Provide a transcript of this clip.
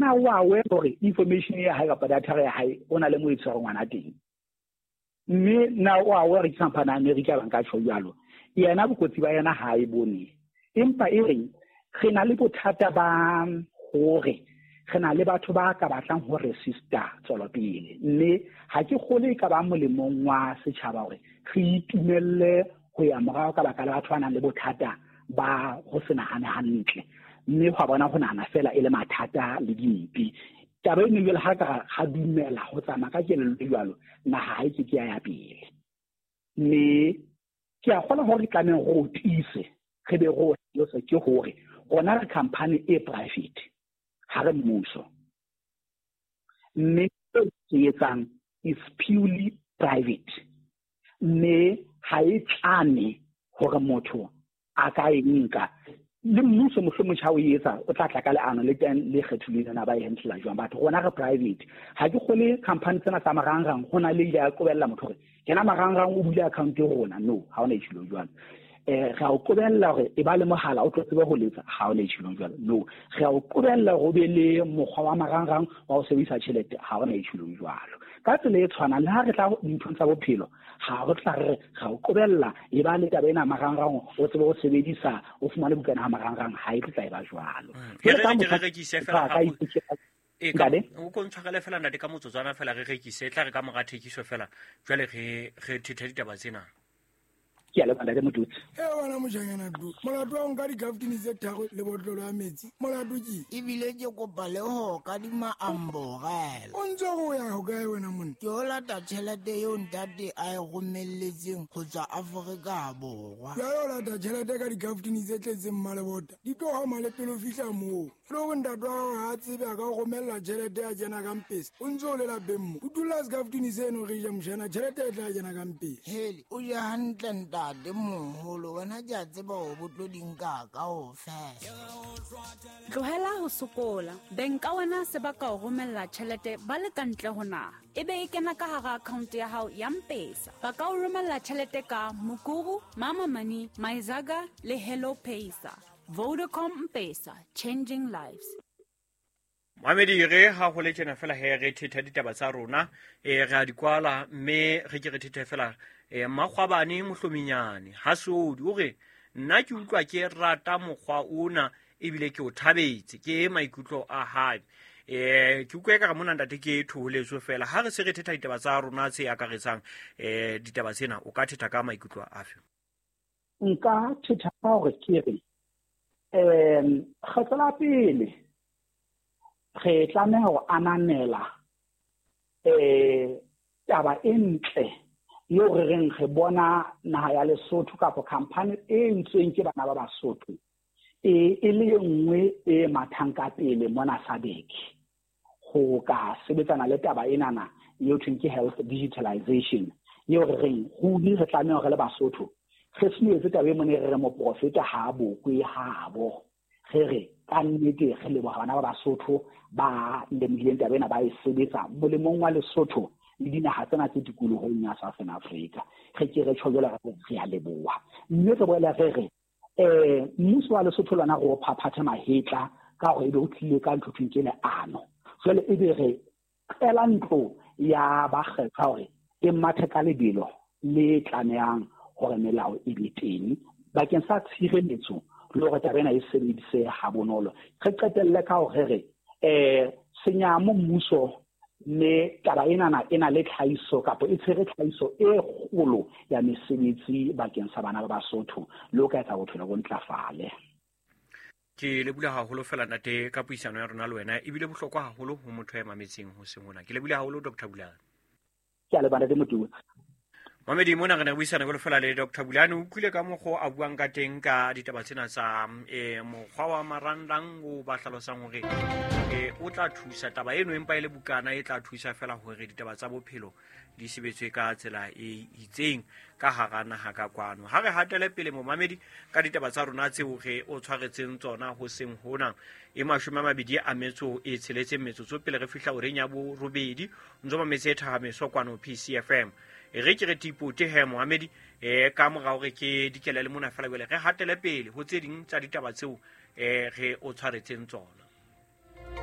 Na o aware hore information ya hae kapa data ya hae o na le mo e tshwere ngwana teng? Mme na o aware ke company ya America ba nka tjho jwalo? Yena bokotsi ba yena ha e bone. Empa e reng re na le bothata ba hore re na le batho ba ka batlang ho resista tswelopele, mme ha ke kgole e ka ba molemong wa setjhaba hore re itumelle ho ya morao ka baka la batho ba nang le bothata ba ho se nahane hantle, mme hwa bona ho nahana fela e le mathata le dimpe. Taba eno jwale ha ka ga dumela ho tsamaya ka kelello jwalo, naha ha e ke ke ya ya pele. Mme ke a kgona hore re tlamehang re o tiise, re be re o hlalose ke hore rona re company e private, ha re mmuso. Mme se se etsang is purely private, mme ha e tlame hore motho a ka e nka. Le mmuso mohlomong ha o etsa o tla tla ka leano le teng le kgethilweng lena ba e handle jwang. Batho rona re private, ha ke kgole company tsena tsa marangrang ho na le ile ya qobella motho hore kena marangrang o bule account e rona. No, ha ona e tjhilo jwalo. Re a o qobella hore e ba le mohala o tlo tsebe ho letsa, ha ona e tjhilo jwalo. No, re a o qobella hore o be le mokgwa wa marangrang wa ho sebedisa tjhelete, ha ona e tjhilo jwalo. Ka tsela e tshwanang le ha re tla dinthong tsa bophelo, ha re tla re re o qobella e ba le taba ena marangrang o tsebe ho sebedisa o fumane bukana ha marangrang, ha e tla e ba jwalo. Jwale ka motho rekise fela ha e ka o ko ntshwarele fela ntate ka motsotswana fela re rekise, e tla re ka mora thekiso fela jwale re re thethe ditaba tsena. Ke a leboha ntate Motutsi. E wena mojanyana du, molato wa ho nka dikaftini tse tharo le botlolo ya metsi, molato ke? Ebile ke kopa le ho kadima amborela. O ntse o ya hokae wena monna? Ke o lata tjhelete eo ntate a e romelletseng ho tswa Afrika Borwa. Jwale o lata tjhelete ka dikaftini tse tletseng mmalebota, di tlo hama le pele o fihla moo. Le hore ntate wa hao ha a tsebe a ka o romella tjhelete ya kena ka mpesa, o ntse o le lapeng mo. O dula sekaftini seno re ja moshana, tjhelete e tla kena ka mpesa. Hele, o je hantle ntate moholo, wena ke a tseba hore bo tlo di nka kaofela. Tlohela ho sokola. Beng ka wena se ba ka o romella tjhelete ba le ka ntle ho naha. E be e kena ka hara account ya hao ya Mpesa. Ba ka o romella tjhelete ka Mukuru, Mama Money, Myzaga le Hello Paysa. Vodacom Mpesa, changing lives. Mohamedi, re ha ho le tjena fela he re thetha ditaba tsa rona, re a di kwala mme re ke re thethe fela, Mmakgwabane Mohlominyane ha Sodi o re nna ke utlwa ke rata mokgwa ona ebile ke o thabetse, ke maikutlo a hae. Ke utlwa ekare mona ntate ke thoholetso fela ha re se re thetha ditaba tsa rona tse akaretsang, ditaba tsena o ka thetha ka maikutlo afe? Nka thetha ka hore ke re, kgetlo la pele re tlameha ho ananela, taba e ntle eo re reng re bona naha ya Lesotho kapa company e entsweng ke bana ba Basotho e le e nngwe e mathang ka pele mona SADC ho ka sebetsana le taba enana eo thweng ke health digitalization, eo re reng ruri re tlameha hore le Basotho re se taba e mone re re moprofeta ha a bokwe habo. Re re ka nnete re leboha bana ba Basotho ba lemohileng taba ena, ba e sebetsa molemong wa Lesotho le dinaha tsena tse tikolohong ya Southern Africa. Re ke re tjho jwalo re re a leboha. Mme re boela re re, mmuso wa Lesotho lona re o phaphathe mahetla ka hore ebe o tlile ka ntho thweng ke leano. Jwale ebe re qela ntlo ya bakgethwa hore e mathe ka lebelo le tlamehang hore melao e be teng bakeng sa tshireletso le hore taba ena e sebedise ha bonolo. Re qetelle ka hore re senyamo mmuso mme taba enana e na le tlhahiso kapa e tshwere tlhahiso e kgolo ya mesebetsi bakeng sa bana ba Basotho le ho ka etsa bophelo bo ntlafale. Ke lebohile haholo fela ntate ka puisano ya rona le wena, ebile bohlokwa haholo ho motho ya mametseng ho seng hona. Ke lebohile haholo Doctor Bulane. Ke a leboha ntate Motuba. Mamedi, mona re ne re buisana jwalo fela le Doctor Bulane. O utlwile ka mokgwa a buang ka teng ka ditaba tsena tsa, mokgwa wa marangrang o ba hlalosang hore, o tla thusa taba eno, empa e le bukana e tla thusa fela hore ditaba tsa bophelo di sebetswe ka tsela e itseng ka hara naha ka kwano. Ha re hatele pele momamedi ka ditaba tsa rona tseo re o tshwaretseng tsona ho seng hona e 26 metsotso pele re fihla horeng ya borobedi, ntso mametse e thahameso kwano PCFM. E re ke re tipote he moamedi, ka mora hore ke dikele le mona fela jwale re hatele pele ho tse ding tsa ditaba tseo, re o tshwaretseng tsona.